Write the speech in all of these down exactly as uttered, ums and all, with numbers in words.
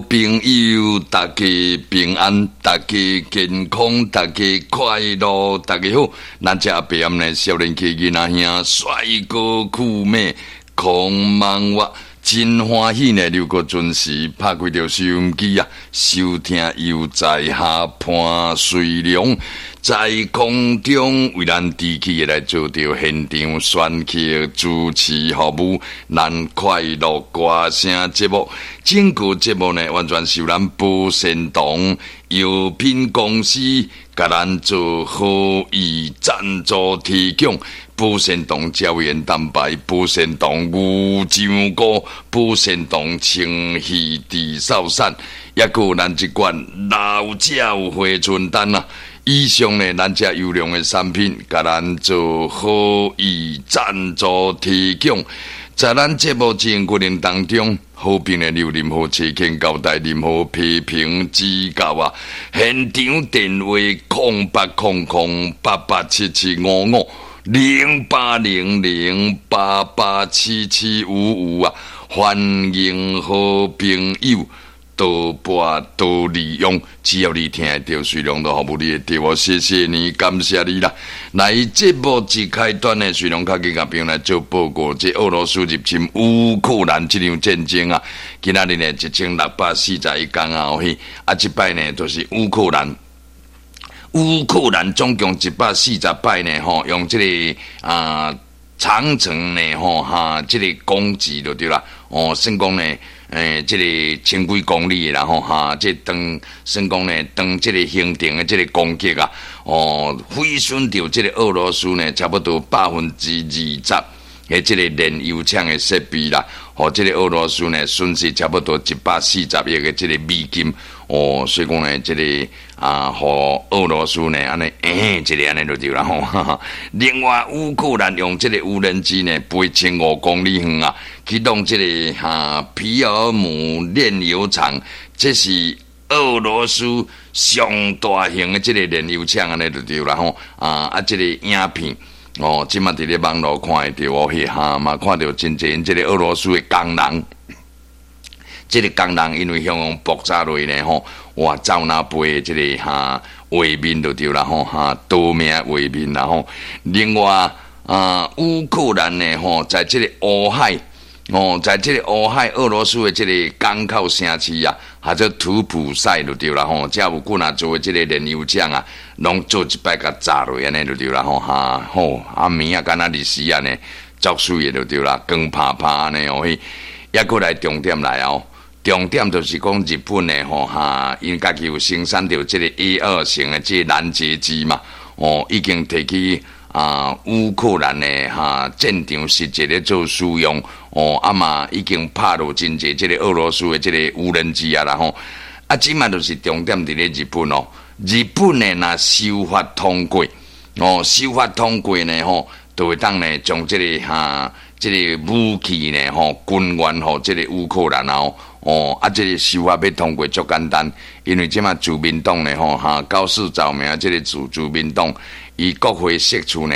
朋友，大家平安，大家健康，大家快樂，大家好。咱這白暗呢，少年家囡仔兄，帥哥酷妹，空茫我真歡喜呢，又閣準時拍開著收音機啊，收聽悠哉下潘瑞良在空中為咱持續來做著現場選曲主持服務，咱快樂歌聲節目，整個節目呢，完全是由咱寶善堂藥品公司共咱做好意贊助提供。寶善堂膠原蛋白、寶善堂牛樟菇、寶善堂清氣治嗽散，抑閣有咱這罐老鳥回春丹啊！以上呢，咱這優良的產品，共咱做好意贊助提供。在咱節目進行過程當中，好評的有任何意見交代，任何批評指教啊，現場電話空八空空八八七七五五零八零零八八七七五五啊，歡迎好朋友多撥多利用，只要你聽得著，隨量都服務你的電話，謝謝你，感謝你啦。來節目一開端呢，隨量較緊共朋友來做報告，這俄羅斯入侵烏克蘭這場戰爭啊，今仔日呢一千六百四十一工啊，嘿，啊，這擺呢就是烏克蘭。烏克蘭總共一百四十擺呢，吼，用這個啊長城呢，吼哈，這個攻擊就對啦。哦，算講呢，欸，這個千幾公里的啦，吼哈，這當算講呢，當這個行程的這個攻擊啊，哦，毀損著這個俄羅斯呢，差不多百分之二十的這個煉油廠的設備啦，予這個俄羅斯呢損失差不多一百四十億的這個美金。哦，所以講呢，這個啊，予俄羅斯呢，按呢，欸，這個按呢就對啦吼。另外，烏克蘭用這個無人機呢，飛千五公里遠啊，去弄這個哈皮爾姆煉油廠，這是俄羅斯上大型的這個煉油廠，按呢就對啦吼。啊啊，這個影片哦，這馬佇咧網路看會著哦，彼哈嘛看著真濟這個俄羅斯的工人。這個工人因為向予爆炸落呢吼，哇，走哪飛這個哈畫面就對啦吼，哈奪命畫面啦吼。另外啊，烏克蘭呢吼，在這個烏海哦，在這個烏海俄羅斯的這個港口城市啊，號做圖普賽就對啦吼，遮有幾若座的這個煉油廠啊，攏做一擺共炸落按呢就對啦吼，哈吼，暗暝啊，敢若日時按呢，足媠的就對啦，光拍拍按呢哦，彼抑閣來重點來哦。重點就是講日本的吼哈，𪜶家己有生產著這個 A 二型的這個攔截機嘛，哦，已經提去啊烏克蘭的哈戰場實際咧做使用，哦，啊嘛已經拍落真濟這個俄羅斯的這個無人機啊啦吼，啊，這馬就是重點佇咧日本哦，日本的若修法通過，哦，修法通過呢吼，就會當呢將這個哈這個武器呢吼軍援予這個烏克蘭哦。哦，啊，這個修法欲通過足簡單，因為這馬自民黨呢，吼哈，高市早苗這個自自民黨，伊國會席次呢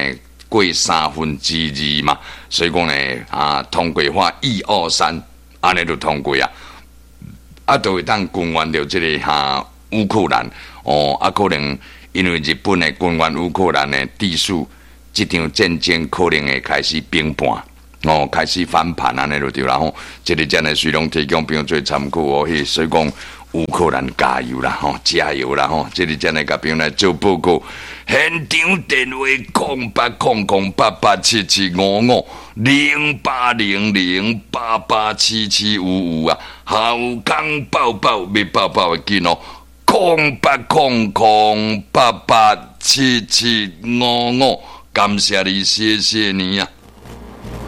過三分之二嘛，所以講呢，啊，通過法一二三，按呢就通過啊，啊，就會當軍援著這個哈烏克蘭，哦，啊，可能因為日本的軍援烏克蘭呢，致使這場戰爭可能會開始平盤。哦，開始翻盤按呢就對啦吼，這個真的隨攏提供朋友做參考哦。彼所以講烏克蘭加油啦吼，加油啦吼！這個真的共朋友來做報告。現場電話空八空空八八七七五五零八零零八八七七五五啊，好康報報欲報報會緊哦，空八空空八八七七五五，感謝你，謝謝你啊！